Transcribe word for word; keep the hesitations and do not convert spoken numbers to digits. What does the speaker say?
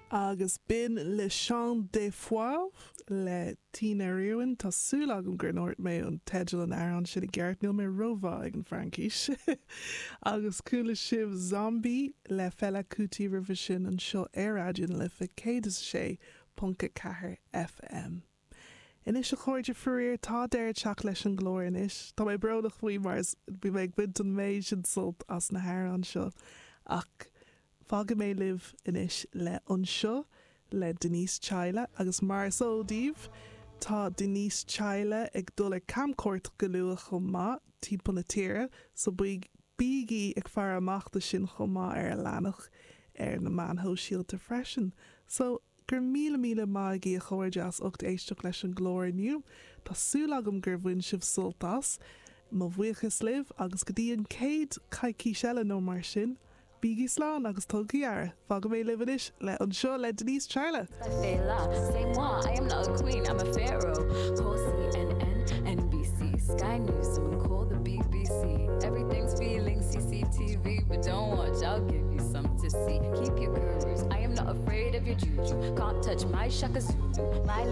Agus b'in Le Chant des Fauves le Tina Riordan Tá súil agam gur ndúirt mé an teideal an amhráin sin i gceart níl mé rómhaith ag an Fraincis. Agus chuala sibh Zombie le Fela Kuti roimhe sin anseo ar Raidió na Life céad is a sé ponc a ceathair FM. Anois a chairde faraor tá deireadh ag teacht leis an gclár anois, Tá mé brónach faoi mar bhí mé ag baint an méid sin sult as na hamhráin seo ach fágfaidh mé libh anois le anseo le Denise Chaila agus mar is eol daoibh tá Denise Chaila ag dul ar camchuairt go luath chomh maith timpeall na tíre so bígí ag faire amach dó sin chomh maith ar a leathanach ar na meáin shóisialta freisin. So gur míle míle maith agaibh a chairde as ucht éisteacht leis an gclár inniu, Tá súil agam gur bhain sibh sult as, mo bhuíochas libh agus go dtí an chéad choicís eile nó mar sin, Bígí slán agus tugaigí aire, fágfaidh mé libh anois le anseo le Denise Chaila. Fela, c'est moi, I am not a queen, I'm a pharaoh. Call CNN, NBC, Sky News, someone call the BBC. Everything's feeling CCTV, but don't watch, I'll give you some to see. Keep your gurus, I am not afraid of your juju. Can't touch my Shaka Zulu, my